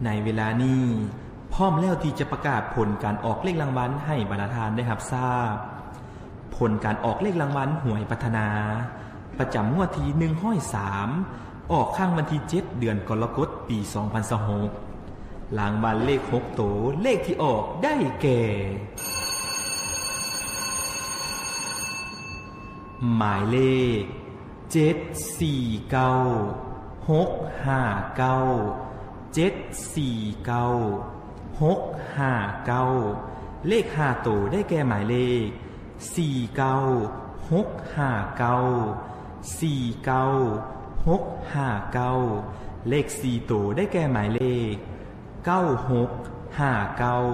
ໃນເວລານີ້ ພ້ອມແລ້ວທີ່ຈະປະກາດຜົນການອອກເລກລາງວັນໃຫ້ບັນດາທ່ານໄດ້ຮັບຊາບ. ຜົນການອອກເລກລາງວັນຫວຍພັດທະນາ ປະຈຳງວດທີໜຶ່ງຮ້ອຍສາມ ອອກຄັ້ງວັນທີເຈັດ ເດືອນກໍລະກົດ ປີສອງພັນຊາວຫົກ. ລາງວັນເລກຫົກໂຕ ເລກທີ່ອອກໄດ້ແກ່ ໝາຍເລກ ເຈັດສີ່ເກົ້າ ຫົກຫ້າເກົ້າ ເຈັດສີ່ເກົ້າ ຫົກຫ້າເກົ້າ. ເລກຫ້າໂຕໄດ້ແກ່ໝາຍເລກ ສີ່ເກົ້າ ຫົກຫ້າເກົ້າ ສີ່ເກົ້າ ຫົກຫ້າເກົ້າ. ເລກສີ່ໂຕໄດ້ແກ່ໝາຍເລກ ເກົ້າຫົກຫ້າເກົ້າ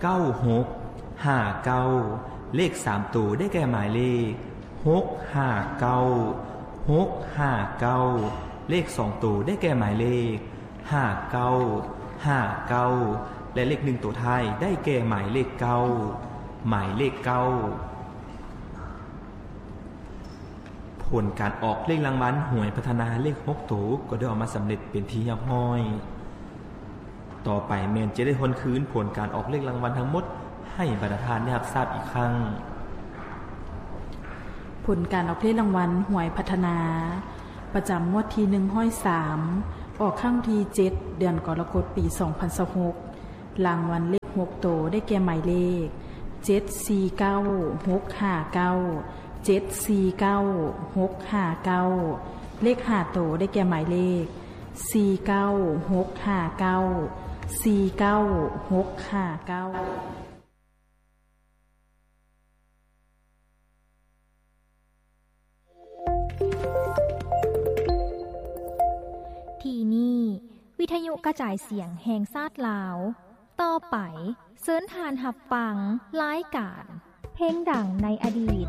ເກົ້າຫົກຫ້າເກົ້າ. ເລກສາມໂຕໄດ້ແກ່ໝາຍເລກ ຫົກຫ້າເກົ້າ ຫົກຫ້າເກົ້າ. ເລກສອງໂຕໄດ້ແກ່ໝາຍເລກ ຫ້າເກົ້າ ຫ້າເກົ້າ ແລະ ເລກໜຶ່ງໂຕທ້າຍໄດ້ແກ່ໝາຍເລກ ເກົ້າ ໝາຍເລກ ເກົ້າ. ຜົນການອອກເລກລາງວັນຫວຍພັດທະນາເລກຫົກໂຕກໍໄດ້ອອກມາສຳເລັດເປັນທີ່ຮຽບຮ້ອຍ. ຕໍ່ໄປແມ່ນຈະໄດ້ທວນຄືນຜົນການອອກເລກລາງວັນທັງໝົດໃຫ້ບັນດາທ່ານໄດ້ຮັບຊາບອີກຄັ້ງ. ຜົນການອອກເລກລາງວັນຫວຍພັດທະນາ ປະຈຳງວດທີໜຶ່ງຮ້ອຍສາມ ອອກຄັ້ງທີເຈັດ ເດືອນກໍລະກົດ ປີສອງພັນຊາວຫົກ. ລາງວັນເລກຫົກໂຕໄດ້ແກ່ໝາຍເລກ ເຈັດສີ່ເກົ້າ ຫົກຫ້າເກົ້າ ເຈັດສີ່ເກົ້າ ຫົກຫ້າເກົ້າ. ເລກຫ້າໂຕໄດ້ແກ່ໝາຍເລກ ສີ່ເກົ້າ ຫົກຫ້າເກົ້າ ສີ່ເກົ້າ ຫົກຫ້າເກົ້າ. ທີ່ນີ້ ວິທະຍຸກະຈາຍສຽງແຫ່ງຊາດລາວ. ຕໍ່ໄປ ເຊີນທ່ານຮັບຟັງລາຍການ ເພງດັງໃນອະດີດ.